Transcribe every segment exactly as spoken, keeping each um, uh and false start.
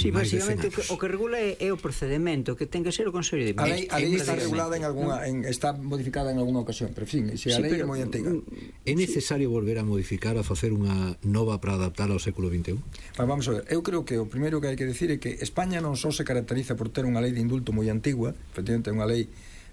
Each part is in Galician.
Sí, basicamente o que regula é o procedemento, que ten que ser o Consello de Ministros. A lei está regulada en alguna, está modificada en alguna ocasión, pero en fin, se a lei é moi antiga. É necesario volver a modificar, a facer unha nova para adaptar ao século vinte e un? Vamos a ver, eu creo que o primeiro que hai que decir é que España non só se caracteriza por ter unha lei de indulto moi antigua, efectivamente é unha lei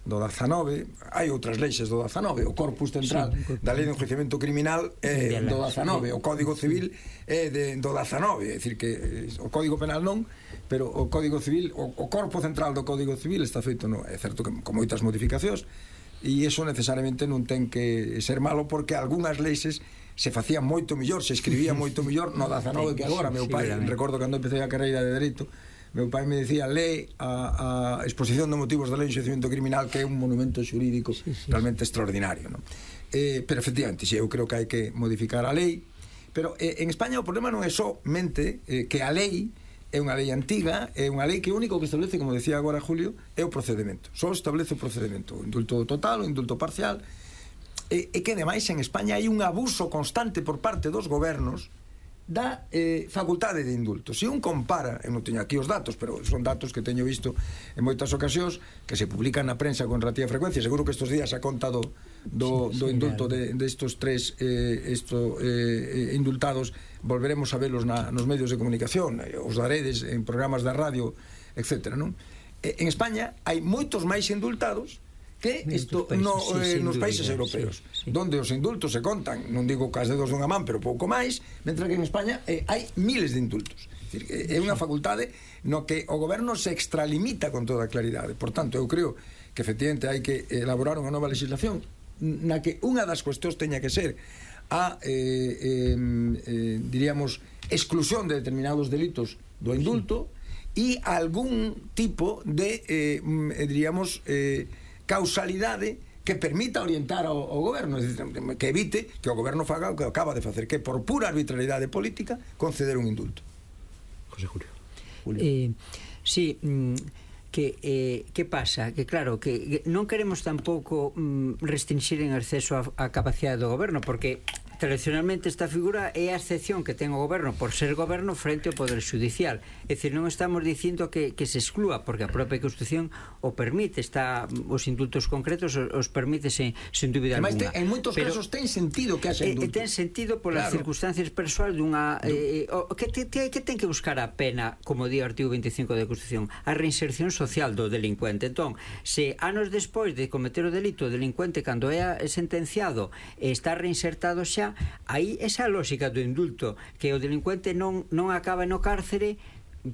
do dezanove, hai outras leixes do dezanove, o corpus central sí, da lei de enjuiciamento criminal é do dezanove, o Código Civil é de, do dezanove, é dicir que o Código Penal non, pero o Código Civil, o, o corpo central do Código Civil está feito, no, é certo que con moitas modificacións, e iso necesariamente non ten que ser malo, porque algunhas leixes se facían moito mellor, se escribía moito mellor no dezanove que agora. Meu pai, recordo cando empecé a carreira de Dereito, meu pai me decía, lee a, a exposición de motivos da lei de enxuiciamento criminal, que é un monumento xurídico sí, sí, realmente extraordinario, ¿no? Eh, pero efectivamente, sí, eu creo que hai que modificar a lei, pero eh, en España o problema non é somente eh, que a lei é unha lei antiga, é unha lei que o único que establece, como decía agora Julio, é o procedemento, só establece o procedemento, o indulto total, o indulto parcial, e, e que ademais en España hai un abuso constante por parte dos gobernos da eh, facultade de indulto. Se un compara, eu non teño aquí os datos, pero son datos que teño visto en moitas ocasións, que se publican na prensa con relativa frecuencia, seguro que estes días a conta do, do, sí, do indulto de, de estos tres eh, esto, eh, indultados, volveremos a velos na, nos medios de comunicación, os daredes en programas da radio, etcétera, non? En España hai moitos máis indultados que isto no, eh, nos países europeos, sí, sí, donde os indultos se contan, non digo cas dedos dunha man, pero pouco máis, mentre que en España eh, hai miles de indultos. É, dicir, é unha facultade no que o goberno se extralimita con toda claridade. Por tanto, eu creo que efectivamente hai que elaborar unha nova legislación na que unha das cuestións teña que ser a eh, eh, eh, diríamos exclusión de determinados delitos do indulto e algún tipo de eh, diríamos eh, causalidade que permita orientar ao, ao goberno, que evite que o goberno faga o que acaba de facer, que por pura arbitrariedade política conceder un indulto. José Julio. Julio. Eh, sí, que eh, que pasa? Que claro, que non queremos tampouco mm, restringir en exceso a, a capacidade do goberno, porque tradicionalmente esta figura é a excepción que ten o goberno por ser goberno frente ao poder judicial. É dicir, non estamos dicindo que, que se exclúa, porque a propia Constitución o permite, está os indultos concretos os, os permite sen, sen dúbida alguna. En moitos pero, casos ten sentido que haxa indulto. Ten sentido polas claro. circunstancias persoais dunha eh, o, que, te, te, que ten que buscar a pena, como di o artigo veinticinco da Constitución, a reinserción social do delincuente. Entón, se anos despois de cometer o delito, o delincuente cando é sentenciado está reinsertado xa, aí esa lógica do indulto, que o delincuente non, non acaba no cárcere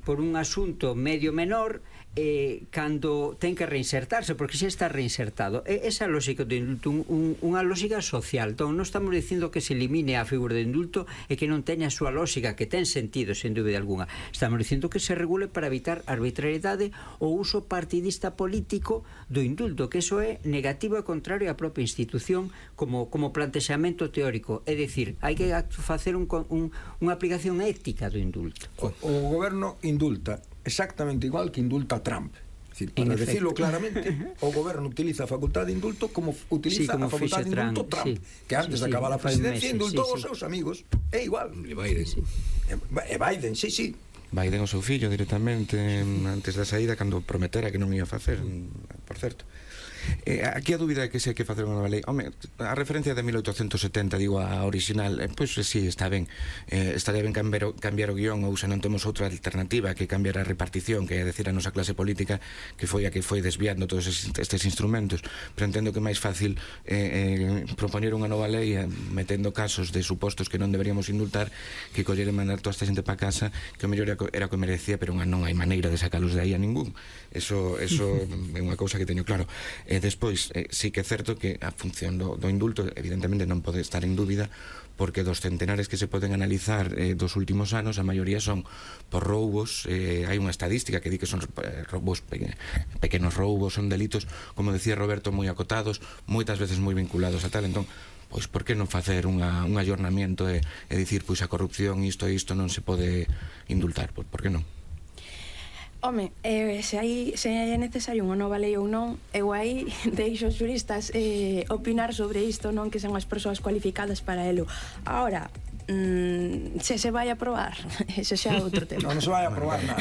por un asunto medio menor eh, cando ten que reinsertarse, porque xa está reinsertado. E esa lógica do indulto, un, un, unha lógica social. Entón, non estamos dicindo que se elimine a figura do indulto e que non teña a súa lógica, que ten sentido, sen dúbida alguna. Estamos dicindo que se regule para evitar arbitrariedade ou uso partidista político do indulto, que eso é negativo e contrario á propia institución como, como plantexamento teórico. É dicir, hai que facer un, un, unha aplicación ética do indulto. O, o goberno indulta exactamente igual que indulta Trump. Es decir, para decirlo claramente, o goberno utiliza a facultade de indulto como utiliza sí, como a facultade de indulto Trump, sí, que antes sí, de acabar sí, a presidencia indultou sí, sí. os seus amigos. É igual. E Biden. Sí. E Biden, sí, sí. Biden o seu fillo directamente antes da saída, cando prometera que non ia facer, por certo. Eh, aquí a dúbida é que se hai que facer unha nova lei. Home, a referencia de mil oitocentos setenta, digo, a original, eh, pois pues, sí, está ben. Eh, estaría ben cambiar o, cambiar o guión, ou se non temos outra alternativa que cambiar a repartición, que é decir a nosa clase política que foi a que foi desviando todos estes instrumentos. Pero entendo que é máis fácil eh, eh, propoñer unha nova lei eh, metendo casos de supostos que non deberíamos indultar que coller e mandar toda esta xente para casa, que o mellor era o que merecía, pero non hai maneira de sacalos de aí a ningún. Eso, eso é unha cousa que teño claro. E eh, despois, eh, sí que é certo que a función do, do indulto evidentemente non pode estar en dúbida, porque dos centenares que se poden analizar eh, dos últimos anos, a maioría son por roubos. Eh, hai unha estadística que di que son eh, roubos pe pequenos roubos, son delitos, como decía Roberto, moi acotados, moitas veces moi vinculados a tal. Entón, pois por que non facer unha, un ayornamiento e, e dicir, pois a corrupción isto e isto non se pode indultar? Por, por que non? Home, eh, se, hai, se é necesario unha nova lei ou non, eu aí deixo os xuristas eh, opinar sobre isto, non que son as persoas cualificadas para elo. Ahora, mm, se se vai a aprobar, ese xa é outro tema. Non, non se vai a aprobar nada.